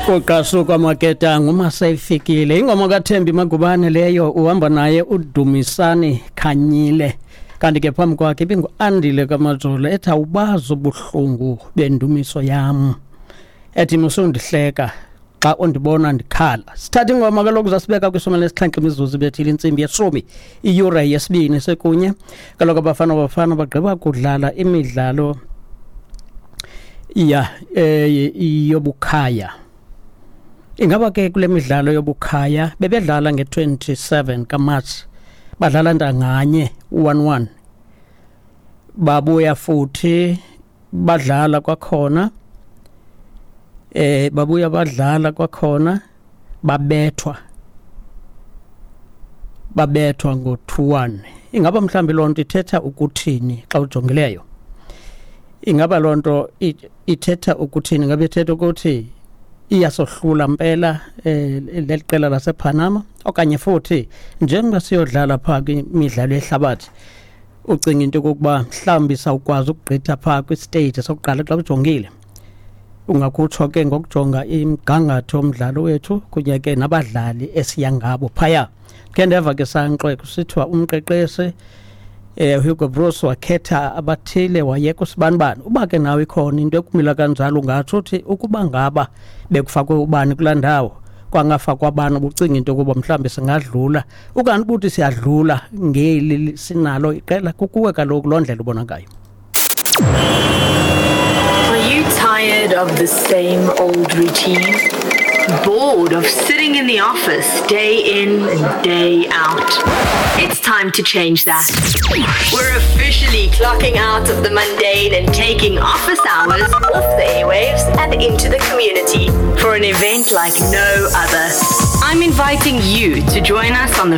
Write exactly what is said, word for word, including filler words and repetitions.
Kuqasuka amaketanga uma seyifikile ingoma kaThembi Magubane leyo, uhamba naye uDumisani Khanyile, kanti ke phambi kwakhe ibingu-Andile kaMajola ethi awubazi ubuhlungu bendumiso yam, ethi musundihleka xa undibona ndikhala. Sithatha ingoma kaloku zasibeka kwishumi lesixhenxe imizuzu ibethile intsimbi yeshumi, iyure yesibini sekunye. Kaloku abafana bafana bagqiba kudlala imidlalo ya eh yobukhaya. Ingaba ke kule midlalo yobukhaya bebedlala nge-twenty-seven kaMarch, badlala ntanganye one one, babuya futhi badlala kwakhona, eh babuya badlala kwakhona, babethwa babethwa ngo two one. Ingaba mhlambi lonto ithetha ukuthini xa ujongileyo? Ingaba lonto ithetha ukuthini? Ingabe ithetha ukuthi iyasohlula mpela eh leliqela lasePanama, okanye futhi njengoba siyodlala pha kwimidlalo yehlabathi ucinga into yokuba mhlawumbi sawukwazi ukugqitha pha kwistage sokuqala? Xa ujongile ungakutsho ke ngokujonga imgangatho omdlalo wethu kunye ke nabadlali esiya ngabo phaya. Ke ndeva ke sanxwe kusithiwa umqeqeshi eh Hugo Broos wakhetha abathile wayeka usibanibani. Uba ke nawe ikhona into ekumila kanjalo, ungatsho uthi ukuba ngaba bekufakwe ubani kulaa ndawo kwangafakwa abantu, ubucinga into yokuba mhlawumbi singadlula, ukanti ubuthi siyadlula ngeli sinalo iqela. Kukuwe kaloku loo ndlela ubona ngayo. Are you tired of the same old routine? Bored of sitting in the office day in and day out? It's time to change that. We're officially clocking out of the mundane and taking office hours off the airwaves and into the community for an event like no other. I'm inviting you to join us on the